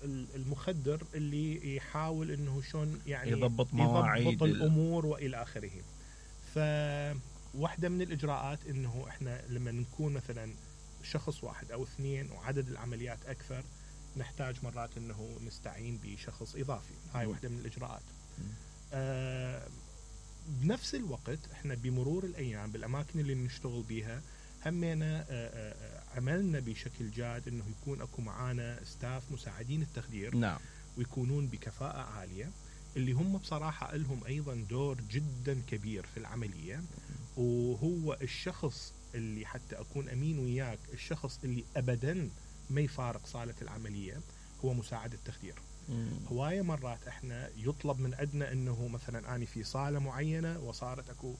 المخدر اللي يحاول انه شلون يعني يضبط مواعيد الامور والى اخره. فواحده من الاجراءات انه احنا لما نكون مثلا شخص واحد او اثنين وعدد العمليات اكثر، نحتاج مرات انه نستعين بشخص اضافي. هاي واحده من الاجراءات. بنفس الوقت احنا بمرور الايام بالاماكن اللي نشتغل بيها همينا عملنا بشكل جاد انه يكون اكو معانا ستاف مساعدين التخدير. نعم. ويكونون بكفاءة عالية، اللي هم بصراحة لهم ايضا دور جدا كبير في العملية. وهو الشخص اللي حتى اكون امين وياك، الشخص اللي ابدا ما يفارق صالة العملية هو مساعد التخدير. هواية مرات احنا يطلب من عندنا انه مثلا اني في صالة معينة وصارت اكو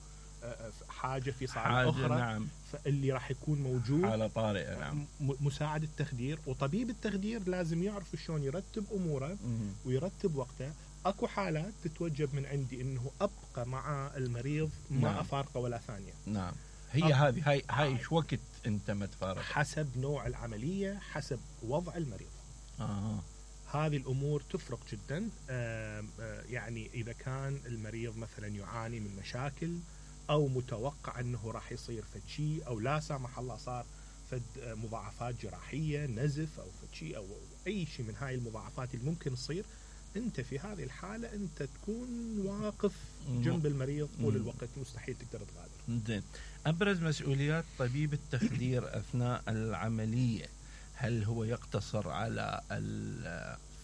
حاجة في صالة اخرى. نعم. فاللي راح يكون موجود حالة طارئة. نعم. مساعد التخدير وطبيب التخدير لازم يعرف شلون يرتب اموره ويرتب وقته. اكو حالات تتوجب من عندي انه ابقى مع المريض ما افارقه ولا ثانية. نعم. هي هاي شو وقت انت ما تفارق؟ حسب نوع العملية، حسب وضع المريض. هذه الأمور تفرق جدا. يعني إذا كان المريض مثلا يعاني من مشاكل أو متوقع أنه راح يصير فد شيء، أو لا سامح الله صار فد مضاعفات جراحية، نزف أو فد شيء أو أي شيء من هاي المضاعفات اللي ممكن تصير، أنت في هذه الحالة أنت تكون واقف جنب المريض طول الوقت، مستحيل تقدر تغادر. زين. أبرز مسؤوليات طبيب التخدير أثناء العملية، هل هو يقتصر على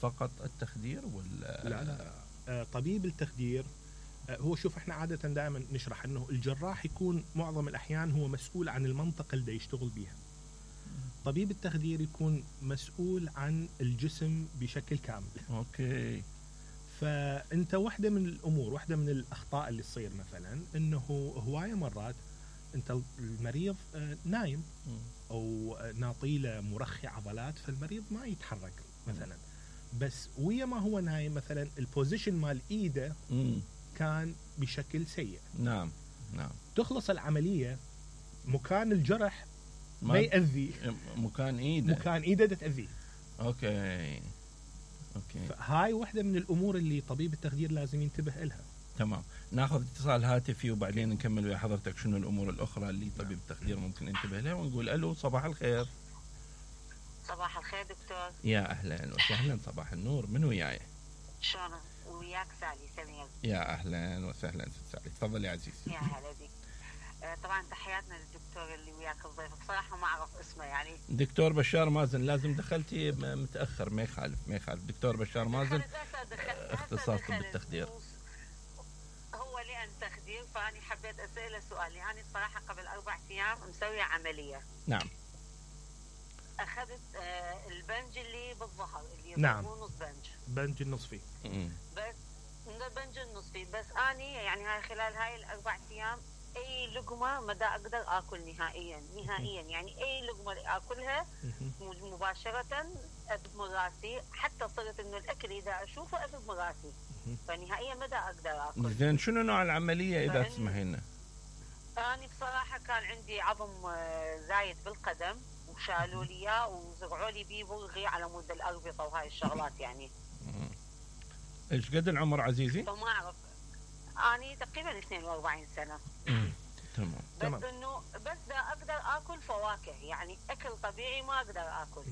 فقط التخدير ولا؟ لا. طبيب التخدير هو شوف احنا عادة دائما نشرح انه الجراح يكون معظم الاحيان هو مسؤول عن المنطقة اللي يشتغل بيها. طبيب التخدير يكون مسؤول عن الجسم بشكل كامل. اوكي. فانت واحدة من الامور، واحدة من الاخطاء اللي تصير مثلا انه هواية مرات انت المريض نايم او ناطيله مرخي عضلات، فالمريض ما يتحرك مثلا، بس ويا ما هو نايم مثلا البوزيشن مال ايده كان بشكل سيء. نعم. نعم. تخلص العملية مكان الجرح ما يأذي، مكان ايده تأذيه. اوكي. فهاي واحدة من الامور اللي طبيب التخدير لازم ينتبه لها. تمام. ناخذ اتصال هاتفي وبعدين نكمل ويا حضرتك شنو الامور الاخرى اللي طبيب التخدير ممكن ينتبه لها، ونقول الو صباح الخير. صباح الخير دكتور. يا اهلا وسهلا. صباح النور. من وياي؟ شلونك؟ وياك سمير. يا اهلا وسهلا ست سالي، تفضل يا عزيز. يا هلا بك. طبعا تحياتنا للدكتور اللي وياك الضيف، بصراحه ما اعرف اسمه يعني. دكتور بشار مازن. لازم دخلتي متاخر، ما يخالف. دكتور بشار مازن اختصاص طب التخدير. هو لأن تخدير، فأنا حبيت أسأله سؤال. يعني الصراحة قبل 4 أيام مسوية عملية. نعم. أخذت البنج اللي بالظهر اللي نعم. نص بنج النصفي. بس البنج النصفي، بس أني يعني هاي خلال هاي 4 أيام أي لقمة ما دا أقدر آكل نهائيا. يعني أي لقمة آكلها مباشرة أذب راسي، حتى صرت إنه الأكل إذا أشوفه أذب راسي، فنهائيا ما دا أقدر آكل. زين شنو نوع العملية إذا تسمحينا؟ أنا بصراحة كان عندي عظم زايد بالقدم، وشالوا لي إياه وزرعوا لي بيه بلغي على مود الأربطة وهاي الشغلات يعني. إيش قد العمر عزيزي؟ فما أعرف. أنا تقريبا 42 سنة. تمام. بس إنه بس دا أقدر آكل فواكه، يعني أكل طبيعي ما أقدر آكل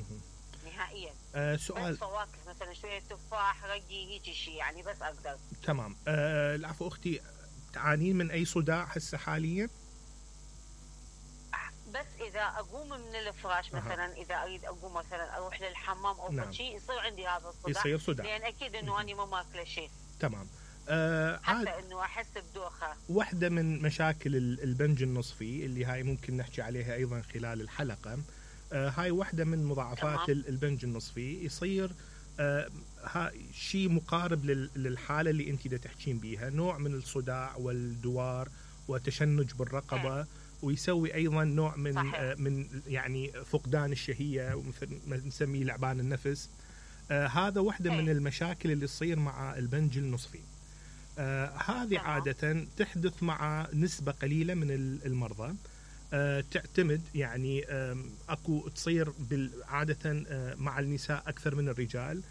نهائيا. سؤال. بس فواكه مثلا شوية تفاح، رقي، هيك شيء يعني بس أقدر. تمام. العفو أختي، تعانين من أي صداع هسه حاليا؟ بس إذا أقوم من الفراش مثلا، إذا أريد أقوم مثلا أروح للحمام أو نعم. شيء، يصير عندي هذا الصداع. يصير صداع. لأن أكيد إنه أنا ما ماكله شيء. تمام. حتى إنه أحس بدوخة. واحدة من مشاكل البنج النصفي اللي هاي ممكن نحكي عليها أيضا خلال الحلقة. هاي واحدة من مضاعفات البنج النصفي. يصير شيء مقارب للحالة اللي أنت دا تحكين بيها، نوع من الصداع والدوار وتشنج بالرقبة. ويسوي أيضا نوع من يعني فقدان الشهية، ومثل ما نسميه لعبان النفس. هذا واحدة من المشاكل اللي تصير مع البنج النصفي. هذه عادة تحدث مع نسبة قليلة من المرضى. تعتمد يعني أكو تصير عادة مع النساء أكثر من الرجال،